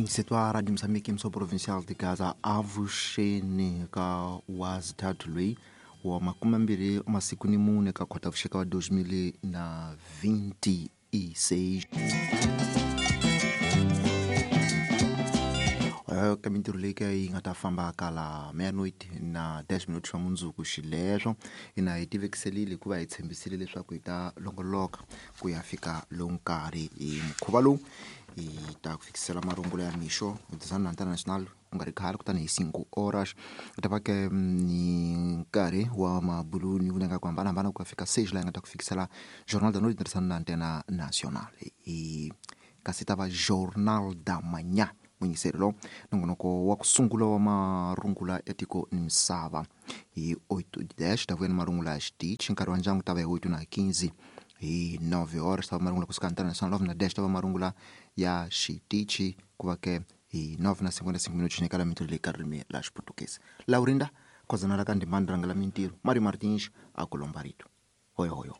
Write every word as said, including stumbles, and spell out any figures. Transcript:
Munyisetwa Radio Mozambique mso provincial de Gaza avuxeni ka wazithathu loyi wa makume mbirhi masiku ni mune ka Khotavuxika wa dois mil na vinte e seis. Ka mintirho leyi ka yi nga ta famba kala meia-noite na dez minutos swa mundzuku xileswo hina hi tivekiselile hikuva hi tshembisile leswaku hi ta longoloka ku ya fika lowu nkarhi hi mukhuva lowu hi ta ku fikisela marungulo ya mixo hi na international ku nga ri khale kutani hi cinco horas ku ta va ke ni nkarhi wa mabulu ni vunanga ku hambanahambana ku ya fika seis laha hi nga ta ku fikisela Jornal da Noite tirhisana na Antena Nacional hi kasi ta va Jornal da Manhã munyiselelo lowu nongonoko wa ku sungula wa marungula ya tiko ni misava hi oito dez ta vuya ni marungula ya xitichi nkarhi wa ndyangu ta va hi oito na quinze hi nove horas ta va marungula kusuka Antena Nacional nove na dez ta va marungula ya xitichi ku va ke hi nove na cinquenta e cinco minutos nyikala mintirho leyi ka ririmi la xiputukezi Laurinda Khozana ra ka Ndimani rhangela mintirho Mario Martins a ku lomba rito hoyo hoyo.